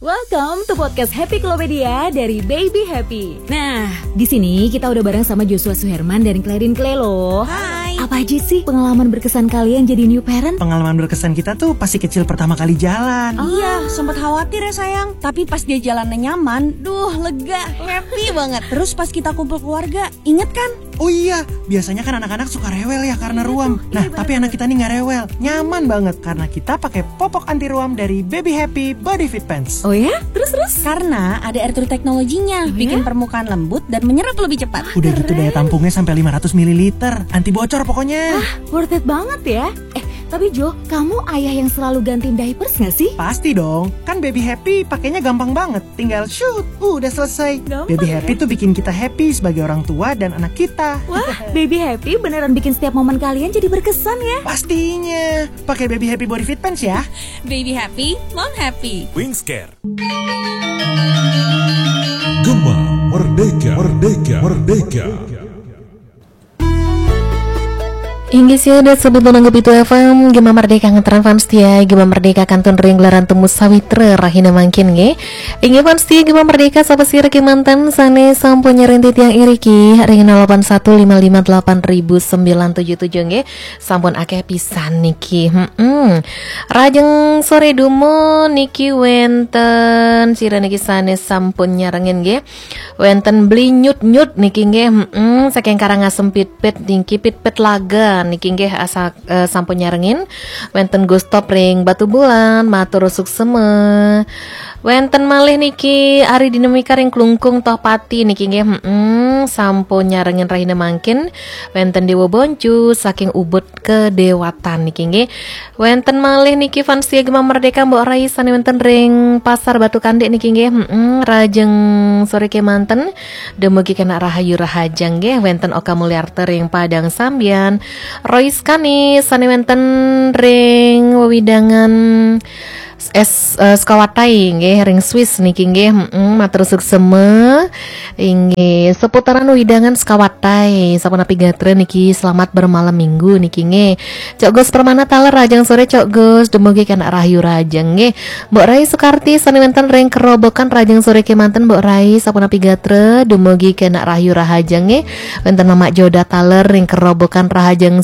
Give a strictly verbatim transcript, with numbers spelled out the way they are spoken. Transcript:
Welcome to podcast Happy Klopedia dari Baby Happy. Nah, di sini kita udah bareng sama Joshua Suherman dan Claudine Clay loh. Hai. Apa aja sih pengalaman berkesan kalian jadi new parent? Pengalaman berkesan kita tuh pasti kecil pertama kali jalan. Iya, sempat khawatir ya sayang. Tapi pas dia jalannya nyaman, duh lega, happy banget. Terus pas kita kumpul keluarga, inget kan? Oh iya, biasanya kan anak-anak suka rewel ya karena ruam. Nah, tapi anak kita nih nggak rewel, nyaman banget karena kita pakai popok anti ruam dari Baby Happy Body Fit Pants. Oh ya? Terus terus? Karena ada air true teknologinya, bikin permukaan lembut dan menyerap lebih cepat. Udah gitu daya tampungnya sampai lima ratus mililiter, anti bocor pokoknya. Worth it banget ya. Eh, tapi Jo, kamu ayah yang selalu gantiin diapers gak sih? Pasti dong, kan Baby Happy pakainya gampang banget. Tinggal shoot, udah selesai. Gampang Baby ya? Happy tuh bikin kita happy sebagai orang tua dan anak kita. Wah, Baby Happy beneran bikin setiap momen kalian jadi berkesan ya. Pastinya, pakai Baby Happy Body Fit Pants ya. Baby happy, mom happy. Wingscare. Gema Merdeka, Merdeka, Merdeka. Inggih sih, dat sebut nanggup itu F M, Gema Merdeka nganteran fans setia, Gema Merdeka kantun ring gelaran temu sawitra rahina mangkin nggih. Inggih fans setia Gema Merdeka, sapa sira kemanten sane sampun nyarengin tiang iriki ring nol delapan satu lima lima delapan ribu sembilan tujuh tujuh nggih. Sampun akeh pisan niki. Hmm. Rajeng sore dumo niki wenten sira niki sane sampun nyarengin nggih. Wenten Bli Nyut Nyut niki nggih, mm, saking Karangasem Pitpit niki, Pitpit Laga niki nggih, asa, eh, sampun nyarengin. Wenten Gustop ring Batubulan, matur suksema. Wenten malih niki Ari Dinamika ring Klungkung Tohpati niki nggih, mm, sampun nyarengin rahina mangkin. Wenten Dewa Boncu saking Ubud Kedewatan niki nggih. Wenten malih niki fans setia Gema Merdeka, Mbok Rai sane wenten ring Pasar Batu Kandik niki nggih. Mm-mm, rajeng sore kemanten. Dumugi kena rahayu rahajeng nggih. Wenten Oka Mulyarta ring Padang Sambian. Rois Kani sane wenten ring wewidangan es, eh, Sekawatai nggih, ring Swiss niki nggih. Mm-mm, matur suksema. Inggih, seputaran wewidangan Sekawatai. Sapunapi gatra niki, selamat bermalam minggu niki nggih. Cok Gus Permana taler, rajeng sore Cok Gus, dumugi kena rahayu rahajeng nggih. Mbok Rai Sukarti sane wenten ring Kerobokan, rajeng sore kemanten Mbok Rai, sapunapi gatra, dumugi kena rahayu rahajeng nggih. Wenten Mamak Joda taler ring Kerobokan, rahajeng